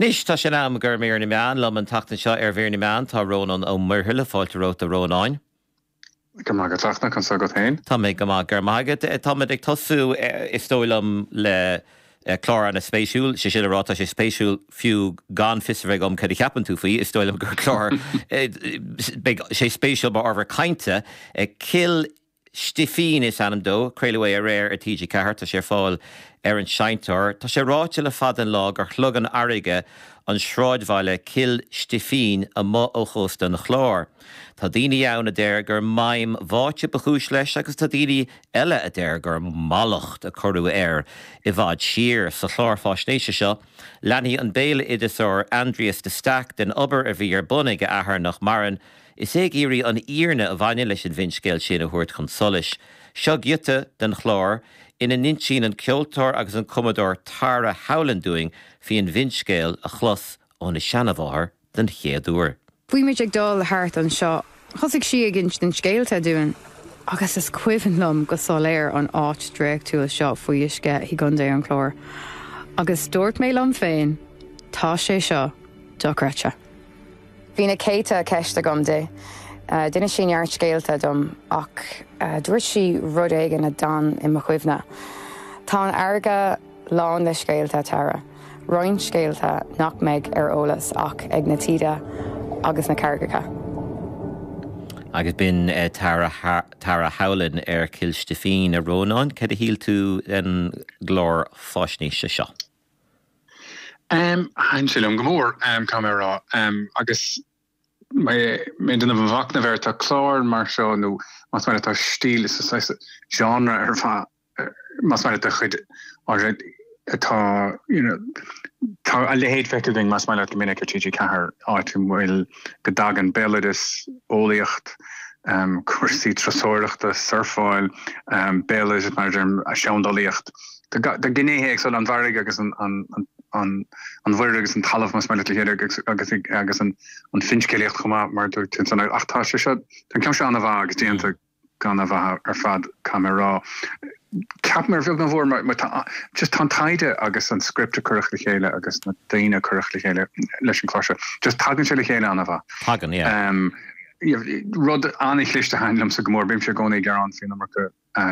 Anois, tá sé in am do Mhír na Meán. Liom an tseachtain seo ar Mhír na Meán tá Rónán Ó Muirthile. Fáilte romhat a Rónáin. Go maith agat, a Fhachtna, conas agat féin? Tá mé go maith, go raibh maith agat. Táimid ag tosú, is dóigh liom, le clár ana-spéisiúil, sé sin le rá, tá sé spéisiúil fiú gan fios a bheith agam cad a cheapann tú faoi, is dóigh liom gur clár, beidh sé spéisiúil mar ábhar cainte. Cill Stifín is ainm dó. Craoladh é aréir ar TG4. Tá sé ar fáil ar an seinnteoir. Tá sé ráite le fada an lá gur shlog an fharraige an sráidbhaile Cill Stifín amuigh ó chósta an Chláir. Tá daoine ann a deir gur maidhm bháite ba chúis leis agus tá daoine eile a deir gur mallacht a cuireadh air i bhfad siar. Sa chlár fáisnéise seo, leanfaidh an béaloideasóir Aindrias de Staic den obair a bhí ar bun ag a athair nach maireann, Is é ag iarraidh an fhírinne a bhaineann leis an bhfinscéal sin a thabhairt chun solais. Seo giota den chlár ina n-insíonn an ceoltóir agus an cumadóir Tara Howlin dúinn faoi an bhfinscéal a chlos óna seanamháthair den chéad uair. Bhí muid ag dul thart anseo. Thosaigh sí ag insint scéalta dúinn agus is cuimhin liom go soiléir an áit draíochtúil seo faoi uisce i gContae an Chláir. Agus dúirt mé liom féin, tá sé seo dochreidte. Bhí na céadta ceist agam di. D'inis sí neart scéalta dom ach dúirt sí rud éigin a d'fhan i mo chuimhne. Tá an fharraige lán le scéalta, Tara. Roinnt scéalta nach mbeidh ar eolas ach ag na taoide agus na carraigeacha. Agus b'in Tara Tara Howlin ar Chill Stifín. A Rónáin, cad a shíl tú den gclár fáisnéise seo? Thaitin sé liom go mór, caithfidh mé a rá. Agus mé ag déanamh mo mhachnaimh air, tá cláir mar seo, nó más maith leat, tá stíl, is saghas genre ar fad, más maith leat, de chuid áirithe atá, you know, tá a leithéid feicthe againn, más maith leat, go minic ar TG4, áit a bhfuil, go dtagann béaloideas, eolaíocht, cúrsaí turasóireachta, surfáil, béaloideas, mar a deirim, seandálaíocht. Tá gnéithe éagsúla, an bhfarraige agus an mhuir agus an talamh más maith leat le chéile agus agus an finscéalaíocht chomh maith mar a dúirt tú ansan. Ach tá sé seo, tá an ceann seo an-mhaith agus déanta go han-mhaith ar fad caithfidh mé a rá. Ceapaim ar bheag nó mhór mar tá just tá an taighde agus an script a cuireadh le chéile agus na daoine a cuireadh le chéile leis an chlár seo, just tagann sé le chéile an-mhaith. Tagann, yeah. Rud an-chliste a thaitin liomsa go mór, bímse i gcónaí ag gearán faoin iomarca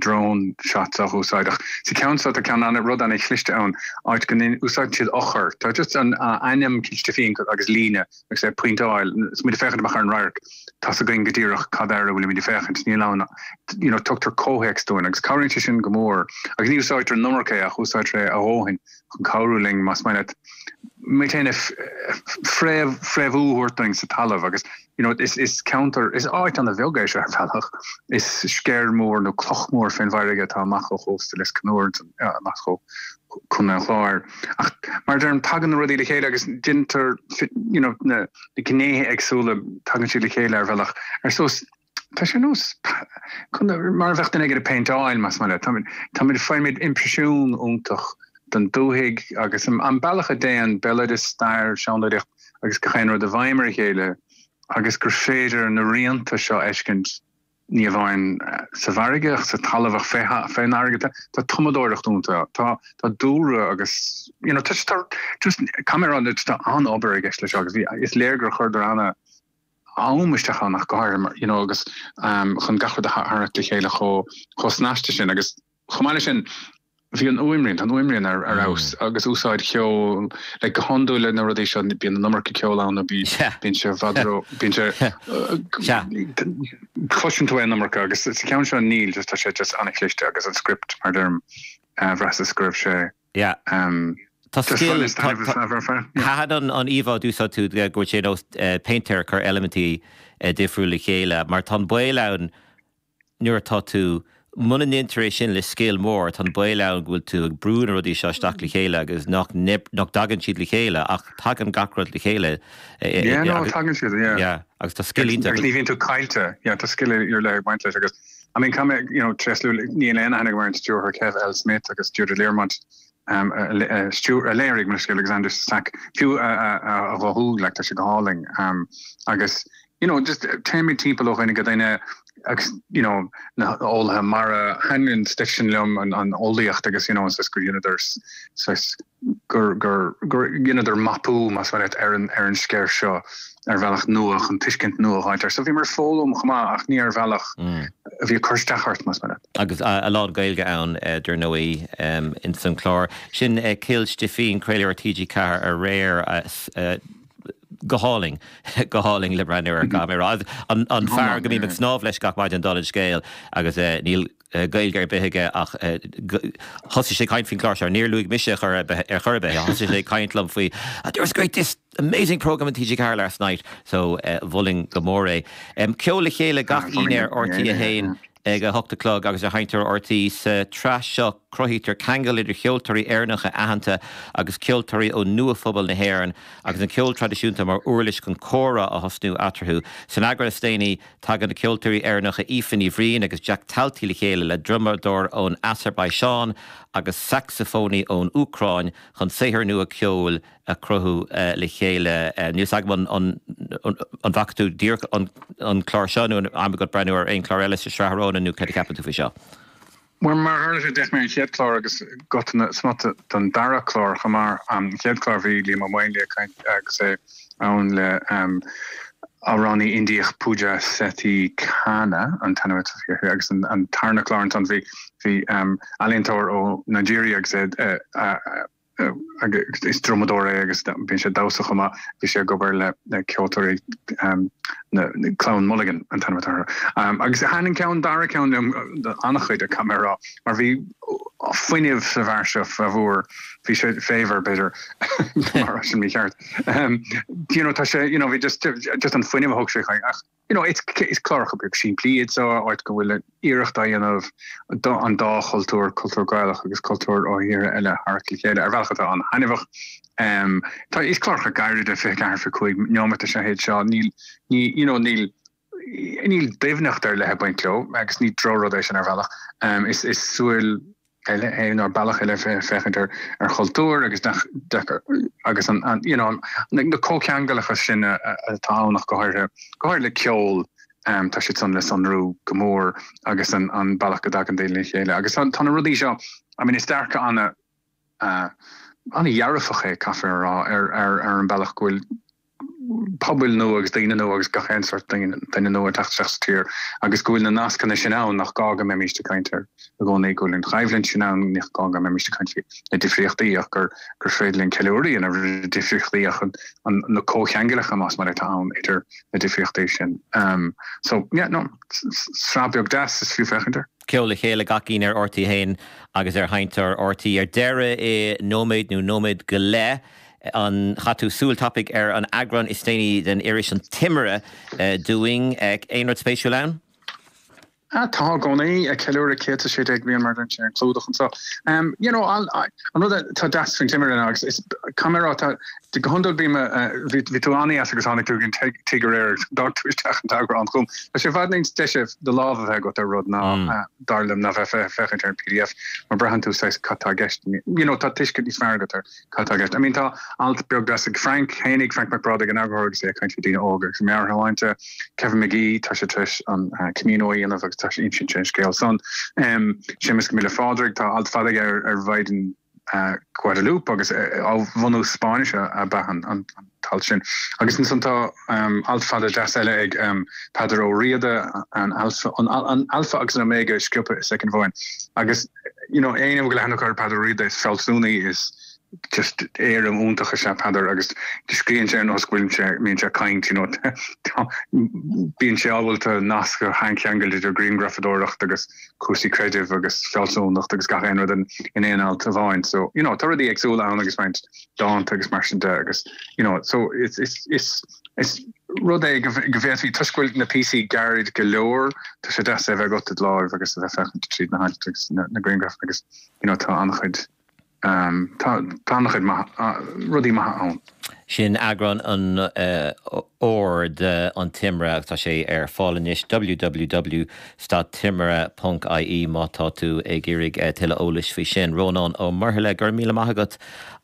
drone shots á úsáid ach sa cheann seo tá ceann ana rud ana chliste ann áit go n-úsáideann siad eochair tá just an ainm Cill Stifín agus líne agus é ag pointeáil is muid ag féachaint amach ar an radharc tá's againn go díreach cad air a bhfuilimid ag féachaint níl ann you know tugtar comhthéacs dúinn agus cabhraíonn sé sin go mór agus ní úsáidtear an iomarca é ach úsáidtear é a dhóthain chun cabhrú linn más maith leat muid féin a fréamh fréamhú a thabhairt dúinn sa talamh agus you know is is ceantar is áit ana bheag é seo ar bhealach is sceir mór nó cloch mór fén bhfarraige atá amach ó chósta Lios Conúir amach ó Chontae an Chláir ach mar a deirim tagann na rudaí le chéile agus déantar you know na na gnéithe éagsúla tagann siad le chéile ar bhealach ar nós Tá sé ar nós mar a bheadh duine éigin ag péinteáil, más maith leat. Táimid, faighimid imprisiún iontach den dúthaigh agus an bealach a dtéann béaloideas, stair, seandálaíocht agus gach aon rud i bhfeidhm ar a chéile agus gur féidir na rianta seo a fheiscint ní amháin sa bhfarraige ach sa talamh ach fén bhfarraige. Tá tumadóireacht iontach, tá dúlra agus you know tá just caithfidh mé a rá tá an-obair i gceist leis seo agus is léir gur chuireadar ana am isteach ann ach go háirithe mar you know agus chun gach rud a tharraingt le chéile chomh chomh snasta sin agus chomh maith leis sin bhí an fhuaimrian, tá an fhuaimrian ar ar fheabhas agus úsáid cheoil like go hiondúil le na rudaí seo bíonn an iomarca ceoil ann nó bí bíonn sé i bhfad ró bíonn sé cloiseann tú é an iomarca agus sa cheann seo níl just tá sé just an-chliste agus an script mar deirim bhraitheas go raibh sé Yeah. Tá scil, thaitin an íomhá a d'úsáid tú go bhfuil sé ar nós péintéir ag cur eilimintí difriúla le chéile, mar tá an baol ann nuair atá tú, muna ndéantar é sin le scil mór, tá an baol ann go bhfuil tú ag brú na rudaí seo isteach le chéile agus nach nach dtagann siad le chéile ach tagann gach rud le chéile. Yeah, no, tagann siad, yeah. Yeah, agus tá scil iontach. Agus ní bhíonn tú caillte, yeah, tá scil ar leith ag baint leis agus I mean, caithfidh mé, you know, tréaslú, níl aon aithne agam ar an stiúrthóir Kev L. Smith agus Deirdre Learmont, um, a, stiúr, a léirigh mo leithscéal agus Aindrias de Staic, fiú a, a, a, a ghuthú, like, tá sé go hálainn. Um, agus, you know, just téimid timpeall ó dhuine go duine, agus you know na eolaithe mara, thaitin an stuif sin liom, an eolaíocht agus you know saghas gur dheineadar saghas gur gur gur dheineadar mapú más maith leat ar an ar an sceir seo ar bhealach nua chun tuiscint nua a fháilt air. So bhíomar ag foghlaim chomh maith ach ní ar bhealach a bhí ag cur isteach ort más maith leat. Agus a lán Gaeilge ann dar ndóigh ins an chlár. Sin Cill Stifín, craoladh ar TG4 aréir. Go hálainn, go hálainn le breathnú air, caithfidh mé a rá. An fear go mbím ag snámh leis gach maidin dála an scéil agus níl Gaeilge ar bith aige ach thosaigh sé ag caint faoin chlár seo. Níor luaigh mise ar chor ar bith é. Thosaigh sé ag caint liom faoi there was great this amazing programme on TG4 last night so mholfainn go mór é. Ceol le chéile gach Aoine ar RTÉ 1 ag a hocht a chlog agus ar Sheinnteoir RTÉ. Sa tsraith seo cruthaítear ceangal idir cheoltóirí Éireannacha aitheanta agus ceoltóirí ó nua-phobal na hÉireann agus an ceol traidisiúnta mar uirlis chun comhrá a thosnú eatarthu. San eagrán is déanaí tagann na ceoltóirí Éireannacha Aoife Ní Bhriain agus Jack Talty le chéile le drumadóir ón Asarbaiseáin agus sacsafónaí ón Úcráin chun saothar nua ceoil a chruthú le chéile. Níl 's agam an bhfaca tú díreach an clár seo nó an am agat breathnú ar aon chlár eile sa sraith a Rónáin nó céard a cheapann tú faoi seo? Bhuel, mar a tharla sé, d'fhéach mé an chéad chlár agus giota smut den dara clár chomh maith. An chéad chlár bhí Liam Ó Maonlaí ag caint agus é ann le amhránaí Indiach Pooja Sethi Khanna an t-ainm atá uirthi agus an tarna clár ansan bhí ealaíontóir ó Nigeria agus é agus is drumadóir é agus bíonn sé ag damhsa chomh maith. Bhí sé ag obair le ceoltóirí Clann Mulligan an t-ainm atá orthu. Agus thaitin an ceann dara ceann liom an-chuid, caithfidh mé a rá, mar bhí fuinneamh sa bhfear seo Favour, bhí sé Favour b'fhéidir, mar sin mícheart. You know, tá sé, you know, bhí just, just an fuinneamh a thug sé chuig, ach you know, it's, is cláracha beag simplí iad seo, áit go bhfuil iarracht á dhéanamh an dá chultúr, cultúr Gaelach agus cultúr ó thíortha eile a tharrac le chéile ar bhealach atá an-thaitneamhach. Tá, is cláracha gairide, 24, 25 neomat is ea iad seo, níl, ní, you know, níl, níl doimhneacht ar leith ag baint leo agus ní drochrud é sin ar bhealach. Is, is súil eile é nó bealach eile féachaint ar ar chultúr agus nach deacair agus an an you know na comhcheangalacha sin atá ann ach go háirithe go háirithe le ceol tá siad san le sonrú go mór agus an an bealach go dtagann daoine le chéile agus tá tá na rudaí seo I mean is dearcadh ana ana-dhearfach é caithfear a rá ar ar ar an bealach go bhfuil pobail nua agus daoine nua agus gach aon sórt duine nua ag teacht isteach sa tír agus go bhfuil na nascanna sin ann nach gá go mbeimíst ag caint air i gcónaí, go bhfuil an choimhlint sin ann, nach gá go mbeimíst ag caint faoi na difríochtaí ach gur gur féidir linn ceiliúradh a dhéanamh ar na difríochtaí ach an na comhcheangalacha más maith leat atá ann idir na difríochtaí sin. So yeah, no, sraith beag deas is fiú féachaint air. Ceol le chéile gach Aoine ar RTÉ 1 agus ar Sheinnteoir RTÉ. Ar deireadh i nóiméad nó nóiméad go leith, An chaith tú súil tapaidh ar an eagrán is déanaí den iris An Timire dúinn? Aon rud spéisiúil ann? Tá i gcónaí, ag ceiliúradh 116 bliain mar a deireann sé ar an chlúdach anseo. You know, an rud atá deas faoin Timire ná agus is caithfidh mé a rá, tá, go hiondúil bím, bhí tú an-dheas agus tháinig tú ag an tigh aréir agus d'fhág tú isteach an t-eagrán chugam. Tá sé i bhfad níos deise do lámh a bheith agat ar rud ná, dar liom, ná bheith ag féachaint ar an pdf mar braitheann tú saghas cad tá i gceist. You know, tá tuiscint níos fearr agat ar Cad tá i gceist? I mean tá alt beag deas ag Frank fhéinig, Frank Mac Brádaigh, an eagarthóir agus é ag caint faoi daoine óga agus a meabhairshláinte. Kevin McGee, tá sé tar éis an Camino a dhéanamh agus tá sé insint sé an scéal san. Séamus Go Míle Phádraig, tá alt fada aige ar ar Mhaighdean Guadalupe agus ó bhunús Spáinnise ab ea an t-alt sin. Agus ansan tá alt fada deas eile ag Peadar Ó Riada, an Alpha, an Alpha agus an Omega sciobtha i soicind amháin. Agus you know, éinne a bhfuil aithne acu ar Peadar Ó Riada, is fealsúnaí, is just éirim iontach is ea Peadar agus scríobhann sé ar nós go bhfuil sé, mbíonn sé ag caint, you know, tá, bíonn sé ábalta nasc a cheangal idir grianghrafadóireacht agus cúrsaí creidimh agus fealsúnacht agus gach aon rud in, in aon alt amháin. So, you know, tá rudaí éagsúla ann agus roinnt dánta agus mar sin de agus, you know, so it's, it's, it's, Is rud é go bhféadfaí, toisc go bhfuil na píosaí gairid go leor, tá sé deas é a bheith agat i do láimh agus a bheith féachaint tríd na hailt agus na grianghraif agus you know tá an-chuid tá tá an-chuid maith rudaí maithe ann. Sin eagrán an Fhómhair de An Timire agus tá sé ar fáil anois, www dot timire ponc ie má tá tú ag iarraidh tuilleadh eolais faoi sin. Rónán Ó Muirthile, go raibh míle maith agat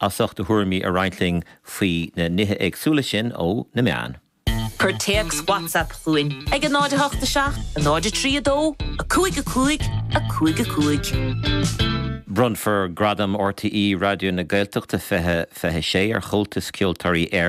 as ucht do thuairimí a roinnt linn faoi na nithe éagsúla sin ó na meáin. Cuir téacs WhatsApp chugainn ag 0 8 7 0 3 2 5 5 5 5. Bronnfar Gradam RTÉ Raidió na Gaeltachta 2026 ar Chomhaltas Ceoltóirí Éireann.